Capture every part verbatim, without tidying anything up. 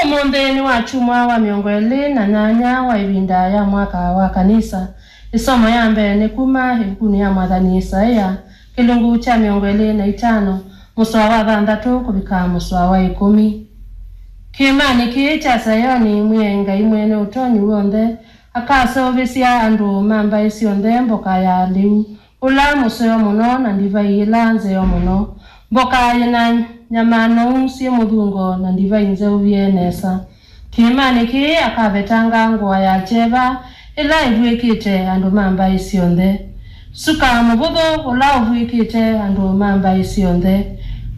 Ũmũnthĩ nĩ Wakyumwa wa mĩongo ĩlĩ na nyanya wa ĩvinda ya mwaka wa kanisa. Ĩsomo ya mbee nĩ kuma ĩvukunĩ ya mwathani Isaia, kĩlungu kya mĩongo ĩlĩ na itano, mũsoa wa thanthatũ kũvika mũsoa wa ĩkũmi. Kĩĩmanĩ kĩĩ kya Sayoni, Mwĩai Ngai Mwene Ũtonyi W'onthe akaseũvĩsya andũ ma mbaĩ syonthe mboka ya lĩu, ũla mũseo mũno na ndivai ĩla nzeo mũno, mboka yĩ na nyama noũ syĩ mũthungo na ndivai nzeũ vyĩ nesa. Kĩĩmanĩ kĩĩ akavetanga ngũa ya kyeva ĩla ĩvw'ĩkĩte andũ ma mbaĩ syonthe, suka mũvũthũ ũla ũvw'ĩkĩte andũ ma mbaĩ syonthe.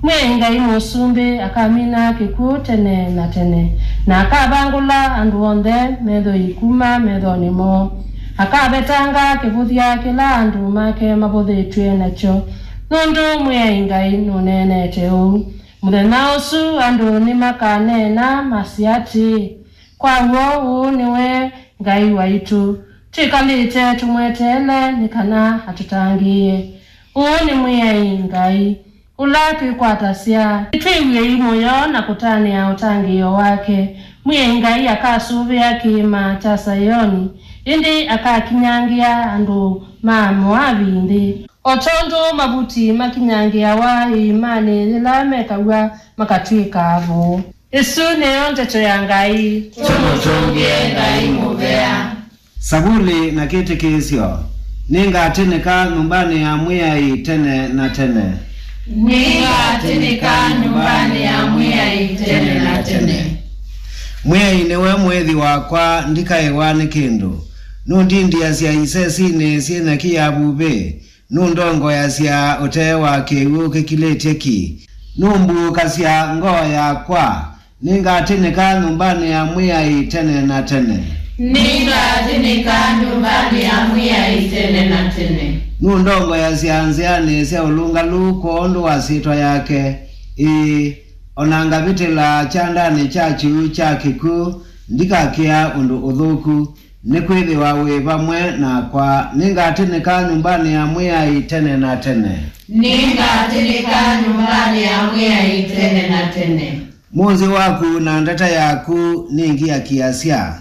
Mwĩai Ngai Mũsumbĩ akamina kĩkw'ũ tene na tene, na akavangũla andũ onthe methoi kuma methonĩ moo. Akavetanga kĩvũthya kĩla andũ make mavũthĩtw'e nakyo, nũndũ Mwĩai Ngai nũneenete ũu. Mũthenya ũsu andũ nĩmakaneena masye atĩĩ, "Kwa w'o ũũ nĩwe Ngai waitũ, twĩkalĩte tũmweteele nĩ kana atũtangĩĩe. Ũũ nĩ Mwĩai Ngai, ũla twĩkwatasya. Nĩtwĩw'ei mũyo na kũtanĩa ũtangĩĩo wake." Mwĩai Ngai akasũvĩa kĩĩma kya Sayoni, ĩndĩ akakinyangĩa andũ ma Moavi nthĩ, o tondũ mavuti makinyangĩawa ĩĩmanĩ yĩla mekaw'a makatw'ĩka avũũ. Ĩsu nĩyo ndeto ya Ngai. Tũmũtũngĩe Ngai mũvea. Savuli na kĩtĩkĩĩsyo. Nĩngatĩnĩka nyũmbanĩ ya Mwĩai tene na tene. Nĩngatĩnĩka nyũmbanĩ ya Mwĩai tene na tene. Mwĩai nĩwe mũĩthi wakwa, ndikaĩwa nĩ kĩndũ. Nũndindiasya isesinĩ syĩ nyeki ya vuvĩ. Nũndongoeasya ũtee wa kĩw'ũ kĩkilĩtye ki. Nũmbuũkasya ngoo yakwa. Nĩngatĩnĩka nyũmbanĩ ya Mwĩai tene na tene. Nĩngatĩnĩka nyũmbanĩ ya Mwĩai tene na tene. Nũndongoeasya nzĩanĩ sya ũlũngalu kwondũ wa syĩtwa yake. Ĩĩ, o na ngavĩtĩla kyandanĩ kya kyuu kya kĩkw'ũ, ndikakĩa ũndũ ũthũku. Nĩkwĩthĩwa wĩ vamwe nakwa. Nĩngatĩnĩka nyũmbanĩ ya Mwĩai tene na tene. Nĩngatĩnĩka nyũmbanĩ ya Mwĩai tene na tene. Mũnzĩ waku na ndata yaku nĩngiakiasya.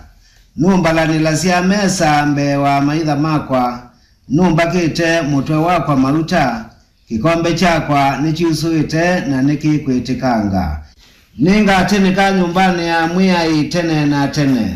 Nũmbalanĩlasya mesa mbee wa amaitha makwa. Nũmbakĩte mũtwe wakwa mauta. Kĩkombe kyakwa nĩkyusũĩte na nĩkĩkwĩtĩkanga. Nĩngatĩnĩka nyũmbanĩ ya Mwĩai tene na tene.